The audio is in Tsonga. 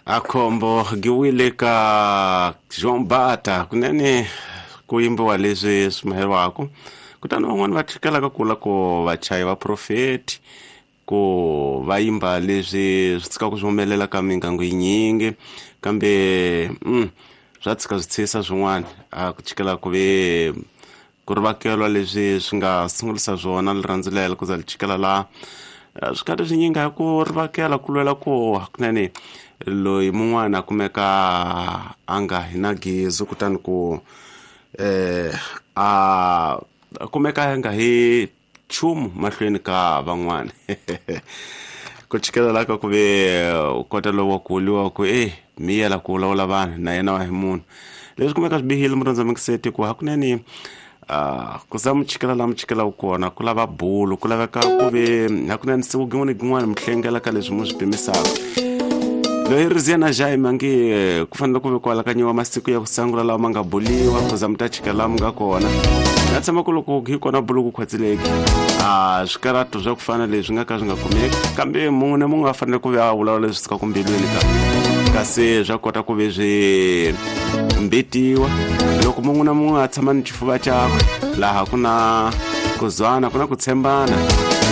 Akhombo giwile ka Jean Bata kunene ku yimbiwa leswi swi maheriwaka kutani van'wani va tlhekelaka kula ku vachayi va profeti ku va yimba leswi swi tshikaka swi humelela ka mingangu yinyingi kambe swa tshika swi tshisa swin'wana a ku chikela ku ve ku ri vakelwa leswi swi nga sungulisa swona rirhandzu lelo ku za li chikela laha swi karhi swi nyinga hi ku ri vakela ku lwela ku hakunene loyi mun'wana a kumeka a nga hi na gezi kutani ku a kumeka a nga hi nchumu mahlweni ka van'wana ku chikela la ka ku ve u kota lowu wa ku vuriwa ku e miyela ku vulavula vanhu na yena wa hi munhu leswi kumeka swi bihile murhandza mingiseti ku hakunene ku za muchikela la muchikela wu kona ku lava bulu ku laveka ku ve hakunene siku gin'wana gin'wana mi hlengela ka leswi mu swi pimisaka loyi ri ziya na jaime ange ku fanele ku ve ku alakanyiwa masiku ya ku sangula lawa ma nga buliwa ku za mi ta chika laha mi nga kona na tshama ku loko hi kona bulu ku khwatsileki a swikarato swa ku fana leswi nga ka swi nga kumeki kambe mun'we na mun'we a fanele ku ve a vulavula leswi sukaka mbilwini ka kasi swa kota ku ve swi mbitiwa loko mun'we na mun'we a tshama ni xifuva chakwe laha ku na ku zwana ku na ku tshembana.